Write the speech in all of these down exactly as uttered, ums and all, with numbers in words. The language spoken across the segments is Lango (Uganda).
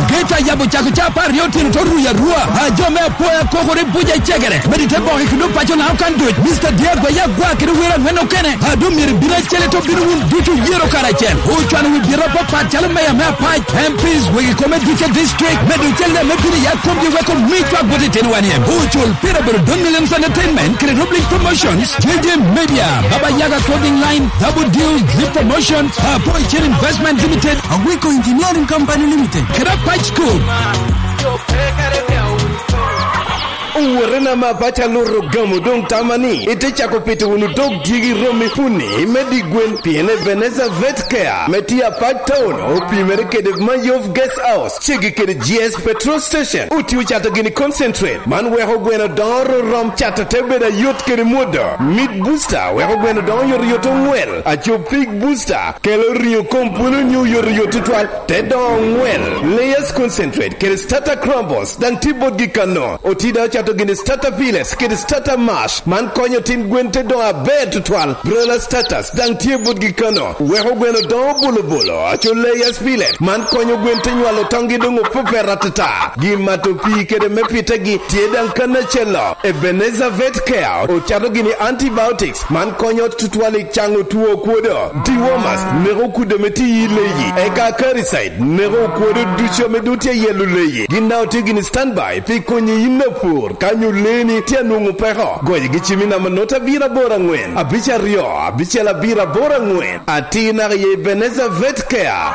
Geta yabo cako ca apar aryo otyeno to ruyo arua. A jo me apoya kokore buca i cegere. Medi te boke kede opaco na okan duc. Mister Diego Yagwa kede wer angwen okene. A doŋ myero ibin acel ito bino wun ducu yero karacel. Ocwano wi byeta apapat calo meya me apac, M Ps, wegi kome duce district. Medo cel ne me bino ya komgi weko mi cwak bot itino wan iem. Ocul pira bedo Don Williams Entertainment kede Roblink Promotions, J J Media, Baba Yaga Clothing Line, Double Deal, Zip Promotions, Apo Chen Investment Limited, Awiko Engineering Company Limited, kede Apac School. Owotena ma apac aluto gamo doŋ tama ni ite cako pito wunu dog dyegi romi puni me di gwen, pien Ebenezer Vet Care me tye apac town opimere kede Mayov Guest House, cegi kede G S Petrol Station. Otye ocato gini concentrate, man weko gweno dongo rom cato te bedo ayot kede mwodo. Meat Booster weko gweno dongo yot yot oŋwel. Aco Pig Booster kelo ringo kom pwolo nyo yot yot tutwal, te dongo oŋwel. Layers Concentrate kede Starter Crumbles daŋ tye botgi kano. Otida ocato gini Starter Pellets kede Starter Mash, man konyo tin gwen te dongo aber tutwal. Broiler Starters daŋ tye botgi kano, weko gweno dongo bolo bolo. Aco Layers Pellet, man konyo gwen te nywalo toŋgi doŋ opepet atata. Gin mato pii kede me pitegi tye daŋ kan acel-lo. Ebenezer Vet Care ocato gini antibiotics, man konyo tutwal i caŋo two okwodo. Dewormers neko kudde me tiyi i leyi, eka Acaricide neko okwodo ducu ame doŋ tye yelo leyi. Gin daŋ otye gini standby pi konyi yin apur ka nyo leeni tye anwoŋo peko. Goyogi cim i namba nota abiro aboro aŋwen, abic aryo, abicel abiro aboro aŋwen. Atir naka i Ebenezer Vet Care.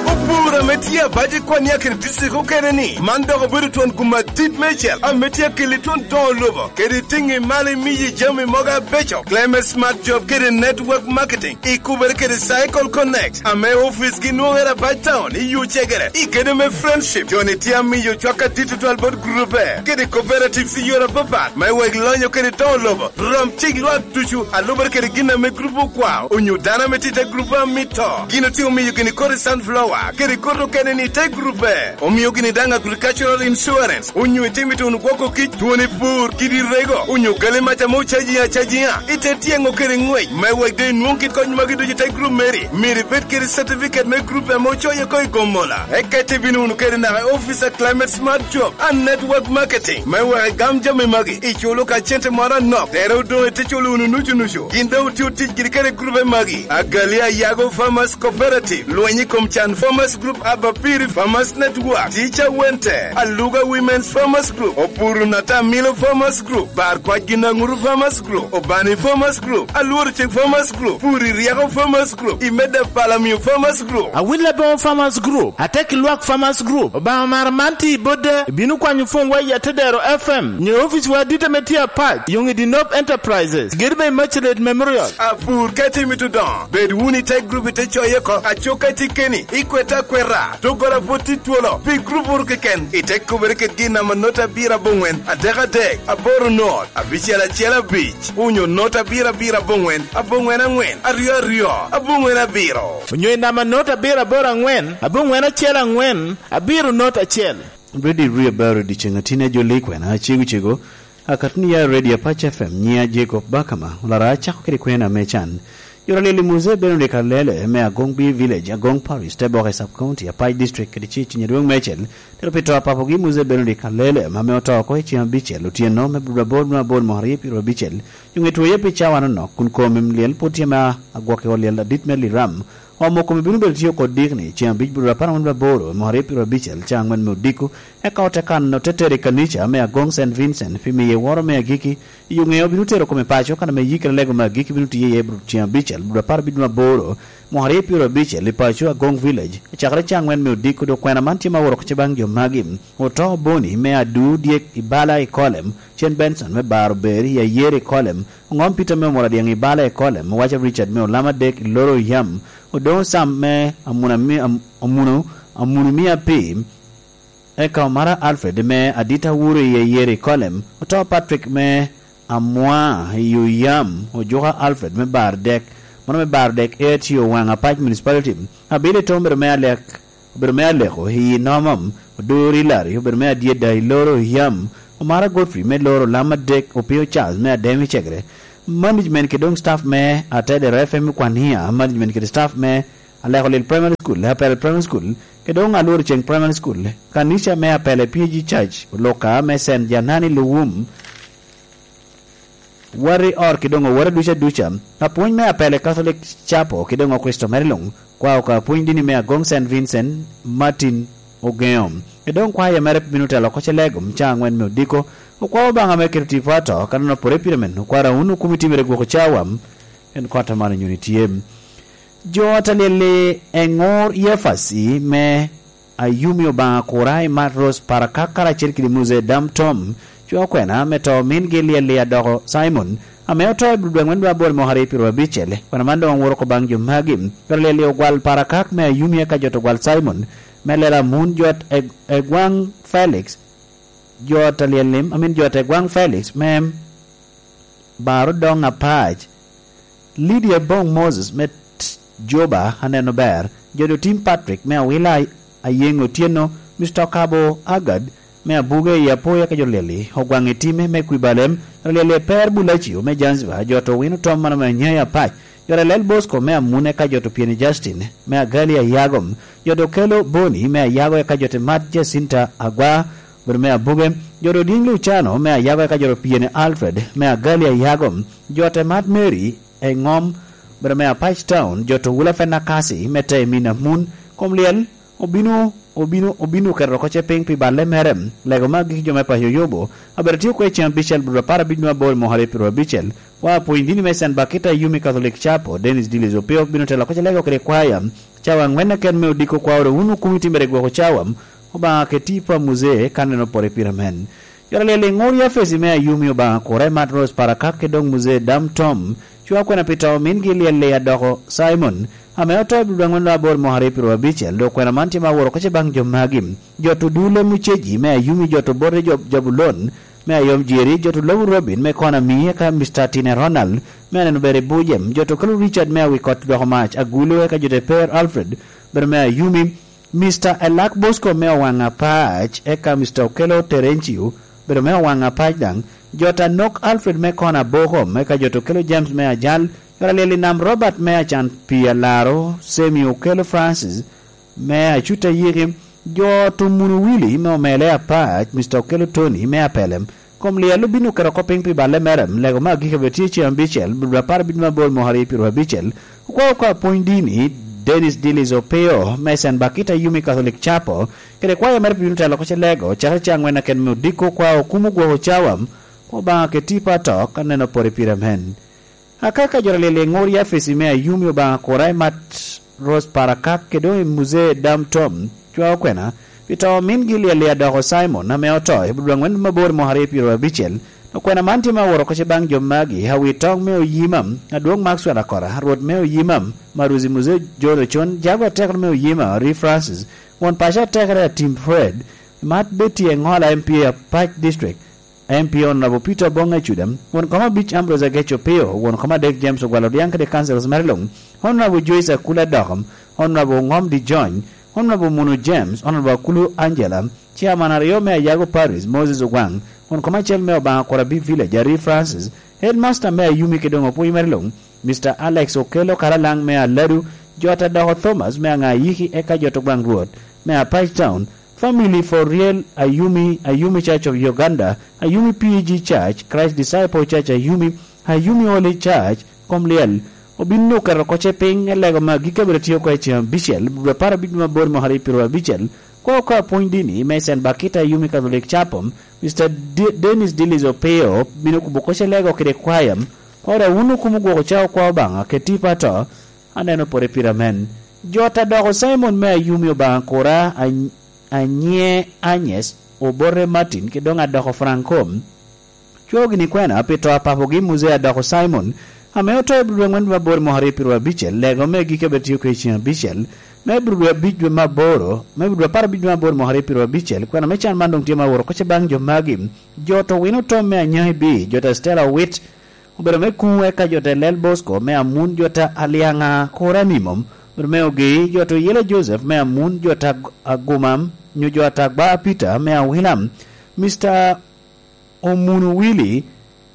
Opur ame tye abac i Kwania kede district okene ni, man dok obedo twon gum adit meicel ame tye akeli twon doŋo lobo kede tiŋi malo imiyi jami mogo abeco. Climate Smart Job kede Network Marketing ikubere kede Cycle Connect ame oficgi nwoŋere abac town i Yucegere. I kede me Friendship, joni tye amiyo cwak adit tutwal bot grube kede cooperatives i yore apapat me wek lonyo kede doŋo lobo. Rom cik lwak ducu a lubere kede gin ame grup okwao onyo dano ame tye i te grup a mito. Gin otye omiyo gini kodi sunflower kede kodi okene ni i te grupe. Omio gini daŋ agricultural insurance onyo itimo ituno gwoko kic, twoni pur, kidi rego, onyo gali mac ame ocaji acajiŋa i te tyeŋo kede ŋwec. Me wek doŋ inwoŋ kit kony magi ducu i te grup meri, myero ibed kede certificate me grup ame ocoyo oko i Gomola. Eka itye bino wunu kede naka i office a Climate Smart Job and Network Marketing me wek igam jami magi. Iculo ka cente moro anok, tere odoŋ ite culo wunu nucu nucu. Gin daŋ otio tic giri kede grube magi: Agali Ayago Farmers Cooperative, Lweny i kom Can Farmers Group, Abapiri Farmers Network, Teacher Wente, Aluga Women's Farmers Group, Opuru Natamilo Farmers Group, Bar Kwac Ginaŋuru Farmers Group, Obani Farmers Group, Alworo Cik Farmers Group, Puri Ryeko Farmers Group, Imeda Palamio Farmers Group. Awil Abongo Farmers Group, Atek Lwak Farmers Group, Obaŋa mara man tye i Bodda, ibino kwanyo pwony wa i Atedero F M, nyo ofice wa adit ame tye apac, Yoŋ i Dinop Enterprises, Gediba i Macelet Memorial. Apur ka itye mito dongo, bed wunu i te grup ite coye oko, aco ka itye keni, ikwete akweta, doggola pwod tye twolo, pi grup woro keken, ite kubere kede gin namba nota abiro aboŋwen, adek adek, aboro not, abicel acel abic, onyo nota abiro abiro aboŋwen, aboŋwen aŋwen, aryo aryo, aboŋwen abiro. Onyo i namba nota abiro aboro aŋwen, aboŋwen acel aŋwen, abiro not acel. Ready Rio Barrow dyeceŋ atini a jo Likwena, cego cego, akatni ya Radio Apac F M, nyiŋa Jacob Bakama, olara acako kede kwena me can. Joro lili Muse Benedict Alele me Agong B Village, Agong Parish, Teboke Sub County, Apac District, kede ci ciny adwoŋ meicel, tero pi to a papogi Muse Benedict Alele, ma me oto oko i ceng abicel otyeno me bur abor nwa abor mwaka aryo pyero abicel, nyo ŋe twoye pi cawa nonok, kun kom im lyel pwod tye me agwok i ot lyel adit me Liram, omo kome bino bedo tye oko dikni, ceng abic bur apar angwen bur aboro, mwaka aryo pyero abicel, ca angwen me odiko, eka ote kano te tero i kanica me Agong Saint Vincent, pi miye woro me agiki, i yo ŋeo bino tero kome paco, kan ame yikere lego me agiki bino tiye iye bur ceng abicel, bur apar abicel nwa aboro, mwaka aryo pyero abicel, i paco Agong Village, acakere ca angwen me odiko, dok kwena man tye ma oworo oko ce baŋ jo magi, oto Boni me Adu Dyek i bala i Kolem, cen Benson me Bar Ober i Ayer i Kolem, Oŋom Peter me Omoro Adyeŋ i bala i Kolem, Owaca Richard me Olam Adek i Loro Yam, Odoŋo Sam me Amuna mi-, Am-, Amuno, Amuno mi Api, eka Omara Alfred me Adita Wuro i Ayer i Kolem, oto Patrick me Amwa i Oyam, Ojuka Alfred me Bar Dek, mano me Bar Dek, A T O Waŋ Apac Municipality, Abili Tom obedo me Alek, obedo me Aleko i Nomom, Odori Larry obedo me Adyeda i Loro Yam, Omara Godfrey me Loro Lam Adek, Opio Charles me Ademi Cegre, management kede doŋ staff me Atedero F M Kwania, management kede staff me Aleko Lil Primary School, Apel Primary School, kede doŋ Alwor Ceng Primary School, kanica me Apele P G Church, Luka me Saint Janani Luwum, Wari Or kede doŋ Owara duca duca, apwony me Apele Catholic Chapel kede doŋ Okricito mere luŋ, kwao ka apwony dini me Agong Saint Vincent Martin Ogeŋo. Kede doŋ kwaya mere bino telo oko ce lego, ca aŋwen me odiko, okwao Obaŋa me keto tipo ato, ka neno pore pire men, okwara wun okumi timere gwoko cawa, en kota man onyoni tye. Jo atalyel-li eŋor Yefasi me Ayumi Obaŋa Kura i Mat Rose Parakak karacel kede Muzee Dam Tom, cwa okwena me to mingi lyel-li adoko Simon, ame oto i dwe ŋwen dwe aboro mwaka aryo pyeraryo abicel. Kwena man doŋ owoto oko baŋ jo magi. Kara lyel-li ogwal Parakak me Ayumi eka jo to gwal Simon, me lela mun jot Eg-, Egwaŋ Felix, jo atalyel-li, amin jo Egwaŋ Felix me Baro Doŋ Apac, Lydia Boŋ Moses me t-, Juba aneno ber, jo Dotim Patrick me Awila Ayeŋ Otyeno, Mister Okabo Agad me Abuge i Apoya ka jo Lyeli, Ogwaŋ Itime me Kwibalem, Lyeli Eper Bulacio me Zanzibar, jo to Wino Tom mano me Anyai Apac, jo Lel Bosco me Amune ka jo to Pieni Justin me Agali Ayagom, jo to Kelo Boni me Ayago eka jo to Mat Jacinta Agwa, bedo me Abuge, jo to Diŋ Lucano me Ayago eka jo to Pieni Alfred me Agali Ayagom, jo to Mat Mary Eŋom, bedo me Apac Town, jo to Wula Fenna Kasi me Temin Amun, kom lyel, obino, obino, obino keto oko ce piny pi balle mere, lego me agikki jo me paco Yubu, abedo tye kwe ceŋ abicel, bedo apar abic nwa aboro mwaka aryo pyeraryo abicel, wa apwony dini me Saint Bakita Yumi Catholic Chapel, Dennis Dillis Opio, bino telo oko ce lego kede kwaya, cawa aŋwen aken me odiko kwao ru wun okumi timere gwoko cawa, Obaŋa ke tipo a Muzee ka neno pore pire men. Joro lyel i ŋur Yafesi me Ayumi Obaŋa Kura i Mat Rose Parakak kede doŋ Muzee Dam Tom, cwa kwena pi to mingi lyel i adoko Simon, ame oto i dwe aŋwen aboro mwaka aryo pyeraryo abicel, dok kwena man tye ma aworo oko ce baŋ jo magi. Jo to Dule Muceji me Ayumi, jo to Bote jo Jabulon me Ayom Jeri, jo to Lobo Robin me Kona Mie ka Mister Tine Ronald me aneno ber i Bujem, jo to Kelo Richard me Awikot doko mac Agulu eka jo to Eper Alfred, bedo me Ayumi, Mister Elak Bosco me Owaŋ Apac, eka Mister Okelo Terencio, bedo me Owaŋ Apac daŋ, jo ta Nok Alfred me Kona Bokom, eka jo to Kelo James me Ajal, jo ta Lyel i Nam Robert me Acan Pii Alaro, Semi Okelo Francis me Acuta Yiki, jo to Munu Willy me Omele Apac, Mister Okelo Tony me Apelem, kom lyel obin oketo oko piny pi balle mere, lego me agikki abiro tye ceŋ abicel, dwe apar abicel me aboro mwaka aryo pyeraryo abicel, okwao oko apwony dini, Dennis Dillis Opio, me Saint Bakita Yumi Catholic Chapel, kede kwaya mere pi bino telo oko ce lego, cakere ceŋ aŋwen aken me odiko, okwao okumo gwoko cawa, Obaŋa ke tipo ato, ka neno pore pire men. Akaka jo ta Lyel i ŋur Yafesi me Ayumi Obaŋa Kura i Mat Rose Parakak, kede doŋ i Muzee Dam Tom, cwa okwena, pi to mingi lyel i adoko Simon, ame oto i budwa aŋwen mabor mwaka aryo pyeraryo abicel, dok kwena man tye me aworo oko ce baŋ jo magi, Awi Toŋ me Oyima, Adwoŋ Maxwell Akora, Rwot me Oyima, Maruzi Muzee John Ocon, Jago Atekere me Oyima, Ri Francis, Won Paco Atekere Atim Fred, Mat Betty Eŋola M P A Apac District, M P Honorable Peter Obong Acuda, won kom abic Ambrose Agec Opio, won kom adek James Ogwal Odiaŋ kede councilors mere luŋ, Honorable Joyce Akula Dokom, Honorable Ŋom Dijony, Honorable Munu James, Honorable Akulu Angela, Chairman aryo me Ayago Parish, Moses Ogwaŋ, won kom acel me Obaŋa Kurabi Village, Ari Francis, Headmaster me Ayumi kede doŋ opwony mere luŋ, Mister Alex Okello Karalaŋ me Aladu, jo ta doko Thomas me Aŋayiki, eka jo to Gwaŋ Rwot me Apac Town, Family for Real Ayumi, Ayumi Church of Uganda, Ayumi P A G Church, Christ Disciple Church Ayumi, Ayumi Holy Church, kom lyel, obin oketo oko ce piny, elego me agikki abiro tio oko i ceŋ abicel, dwe apar abic me aboro mwaka aryo pyeraryo abicel, kwa oko apwony dini me Saint Bakita Ayumi Catholic Chapel, Mister D-, Dennis Dillis Opio, bino kubo oko ce lego kede kwaya, kwa ora wun okumo gwoko ca okwa Obaŋa, ke tipo ato, aneno pore pire amen. Jo ta doko Simon me Ayumi Obaŋa Kura, Any-, Anye Anyes, Obote Martin, kede doŋ adoko Franco. Cwo gini kwena pi to a papogi Muzee adoko Simon, ame oto i dwe aŋwen dwe aboro mwaka aryo pyeraryo abicel, lego me gik abiro tio kede ceŋ abicel, me dwe abic dwe me aboro, me dwe apar abic dwe me aboro mwaka aryo pyeraryo abicel, kwena me can man doŋ tye ma aworo oko ce baŋ jo magi. Jo to Wino Tom me Anyai Bi, jo ta Stella Owit, obedo me kuŋ eka jo ta Lel Bosco me Amun, jo ta Aliaŋa Kora Mimom, obedo me Ogei, jo ta Oyela Joseph me Amun, jo ta Ag-, Aguma, nyo jo ta Agba Peter me Awila, Mister Omunu Willy,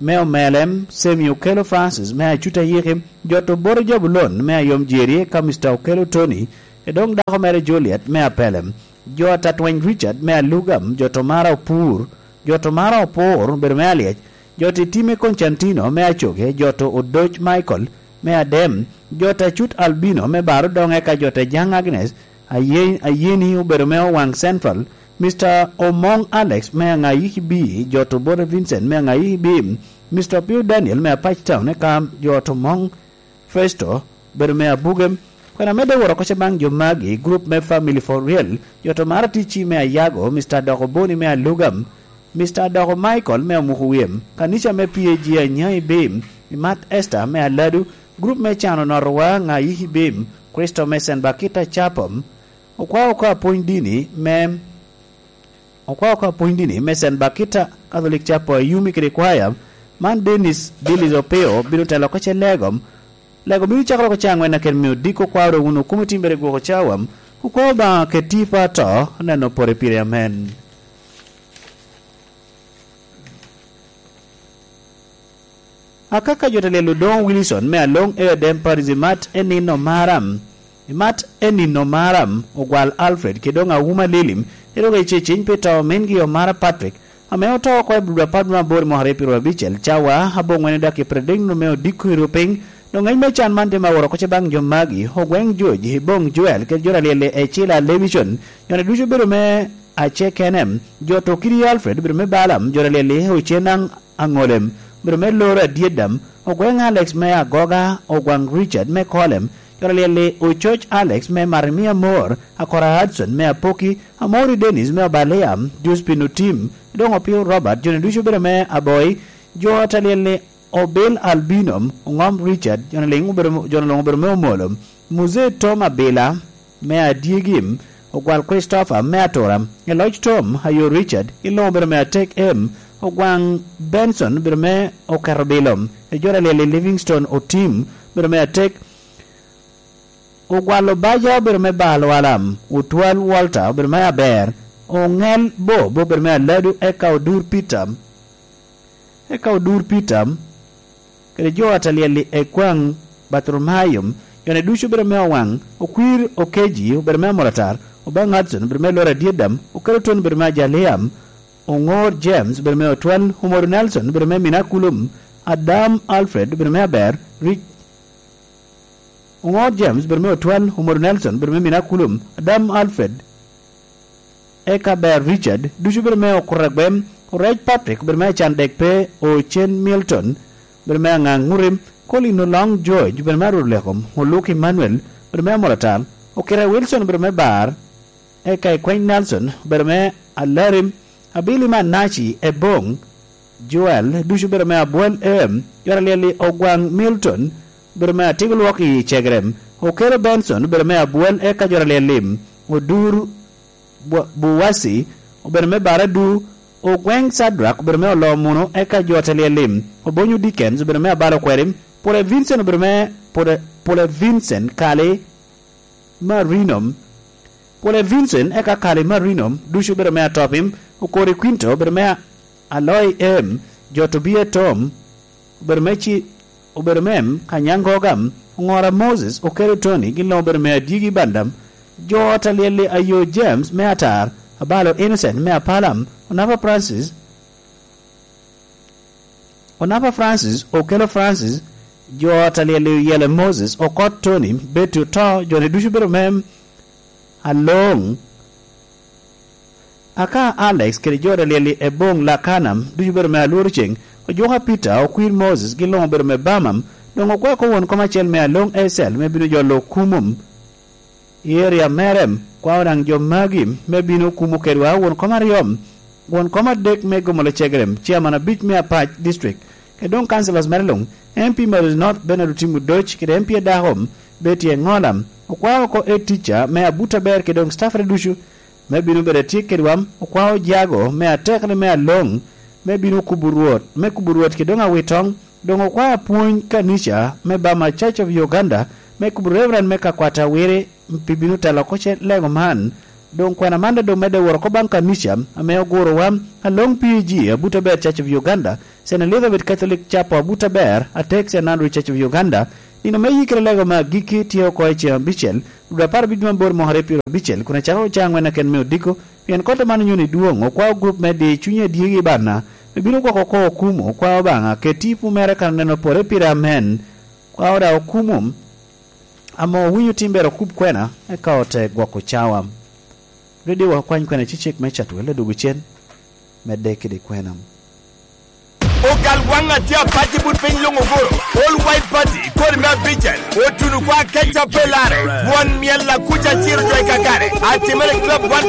me Omelem, Semi Okello Francis me Acut Ayiki, jo to Boro Jabulon me Ayom Jeri, ka Mister Okello Tony, e doŋ dako mere Juliet me Apelem, jo ta Twany Richard me Alugam, jo to Mara Opur, jo to Mara Opur, bedo me Alyec, jo to Itime Constantino me Acoge, jo to Odoc Michael me Adem, jo ta Cut Albino me Baro Doŋe, ka jo ta Jaŋ Agnes, Aye-, Ayeni obedo me Owaŋ Central, Mister Omoŋ Alex me Aŋayiki B, jo to Bote Vincent me Aŋayiki B, Mister Opio Daniel me Apac Town, eka jo to Moŋ Festo obedo me Abuge. Kwena medde woro koca baŋ jo magi, gurup me Family for Real, jo to Mara Ticci me Ayago, Mister Doko Boni me Alugam, Mister Adoko Michael me Amuku Wim, kanica me P A G Anyai Bim, Imat Esther me Aladu, gurup me Cano Notowa Ŋayiki Bim, Kricito me Saint Bakita Chapel, okwao oko apwony dini me, okwao oko apwony dini me Saint Bakita Catholic Chapel Ayumi kede kwaya, man Dennis Billy Opio bino telo oko ce lego, Lego bino cakere oko ca aŋwen aket me odiko, okwao dok wun okumo timbere gwoko cawa, okwao Obaŋa ket tipo ato, neno pore pire, amen. Akaka jo ta lyel Odoŋo Wilson me Aloŋ e Odem Paris imat e nino maram, imat e nino maram, Ogwal Alfred, kede doŋ Awuma Lilim, erogo i ceciny pi to mingi Omara Patrick, ame oto oko i Abdul Apar me Aboro i mwaka aryo pyeraryo abicel, cawa aboŋwen i dakika pyeradek nino me odiko i rupiny. Doŋ ŋec me can man tye ma woro oko ce baŋ jo magi, Ogweŋ George, Iboŋ Joel, kede jo ta lyel-li Ecila Levison, jo-ni ducu obedo me Ace Kenem, jo to kidi Alfred obedo me Balaam, jo ta lyel-li Ocenaŋ Aŋolem, obedo me Loro Adyeddam, Ogweŋ Alex me Agoga, Ogwaŋ Richard me Kolem, jo ta lyel-li Ococ Alex me Marimia Mor, Akora Hudson me Apoki, Amori Dennis me Obalia, Josephine Otim, doŋ Opio Robert, jo-ni ducu obedo me Aboi, jo ta lyel-li Obil Albino, Oŋom Richard, jo-ni liŋ obedo, jo-ni luŋ obedo me Omolo, Muzee Tom Abila me Adyegim, Ogwal Christopher me Atura, Eloc Tom Ayo Richard, i luŋ obedo me Atek M, Ogwaŋ Benson obedo me Oketo Bilo, i jo ta lyel-li Livingstone Otim obedo me Atek, Ogwal Obaja obedo me Bal Walam, Otwal Walter obedo me Aber, Oŋel Bob obedo me Aladu, eka Odur Peter, eka Odur Peter, kede jo ta lyel-li Ekwaŋ Bartholomayo, jo-ni ducu obedo me Owaŋ, Okwir Okeji obedo me Amolatar, Obaŋ Hudson obedo me Loro Adyeddam, Oketo Ton obedo me Ajalia, Oŋor James obedo me Otwal, Omodo Nelson obedo me Minakulum, Adam Alfred obedo me Aber, Ric-, Oŋor James obedo me Otwal, Omodo Nelson obedo me Minakulum, Adam Alfred, eka Ber Richard, ducu obedo me Okuto Agwem, Orec Patrick obedo me Acan Dek Pe, Ocen Milton obedo me Aŋaŋ Ŋutim, Colin Oloŋ George obedo me Arur Lekom, Oluk Emmanuel obedo me Amolatar, Okira Wilson obedo me Bar, eka Ikweny Nelson obedo me Alarim, Abili me Anaci, Eboŋ Joel, ducu obedo me Abwel Em, jo ta lyel-li Ogwaŋ Milton obedo me Atiko Lwok i Cegerem, Okelo Benson obedo me Abwel, eka jo ta lyel-li Odur Bu-, Buwasi obedo me Baradu, Ogweŋ Sadrak obedo me Olomuno, eka jo ta lyel-li Obonyo Dickens obedo me Abalo Kweri, Pule Vincent obedo me Pule, Pule Vincent Kali Marino, Pule Vincent eka Kali Marino, ducu obedo me Atopim, Okori Quinto obedo me Aloi Em, jo Tobia Tom obedo me Ci-, obedo me Kanyangoga, Oŋora Moses, Okelo Tony, gin luŋ obedo me Adyegi Bandam, jo ta lyel-li Ayo James me Atar, Abalo Innocent me Apalam, Onapa Francis, Onapa Francis, Okelo Francis, jo ta lyel-li Oyele Moses, Okot Tony, Betty Oto, jo-ni ducu obedo me Aloŋ, aka Alex kede jo ta lyel-li Eboŋ Lakana, ducu obedo me Alworo Ceŋ, Ojuka Peter, Okwir Moses, gin luŋ obedo me Bamam, doŋ okwao oko won kom acel me Aloŋ Ecel me bino jolo Kumum i eria mere, kwao daŋ jo magi me bino kumo kedwa won kom aryo, won kom adek me Gomolo Cegerem, ciaman abic me Apac District, kede doŋ councillors mere luŋ, M P Moses North Bernard Otim Odoc kede M P adako Betty Eŋola, okwao oko head teacher me Abuta Ber kede doŋ staffere ducu me bino bedo atyek kedwa, okwao jago me atekere me Aloŋ me bino kubo Rwot, me kubo Rwot kede doŋ awitoŋ, doŋ okwao apwony kanica me Bama Church of Uganda me kubo Reverend me Kakwata Wiri pi bino telo oko ce lego man. Doŋ kwena man doŋ medde woro oko baŋ kanica ame ogurowa, Along P A G, Abuto Aber Church of Uganda, Saint Elizabeth Catholic Chapel, Abuto Aber, Atek Saint Andrew Church of Uganda, nino me yikere lego me agikki tye oko i ceŋ abicel, dwe apar abic me aboro mwaka aryo pyerabicel, kun acakere ocaŋ ŋwen aken me odiko, pien kotte man onyoni dwoŋ, okwao gurup me di cuny adyegi i banna, me bino gwoko oko okumo, okwao Obaŋa, ket tipo mere kan oneno pore pire, amen. Kwao daŋ okumo, ame owinyo tim ber okub kwena, eka ote gwoko cawa. Rweddi wa okwany kwena cicek me Catwel odwogo cen, medde kede kwena. Ogal waŋ atye apac i but piny luŋ oguro. All White Party, kodi me abicel, otuno kwa keca pe lare. Won myel akuca ciro jo i kakare. Atimere Club one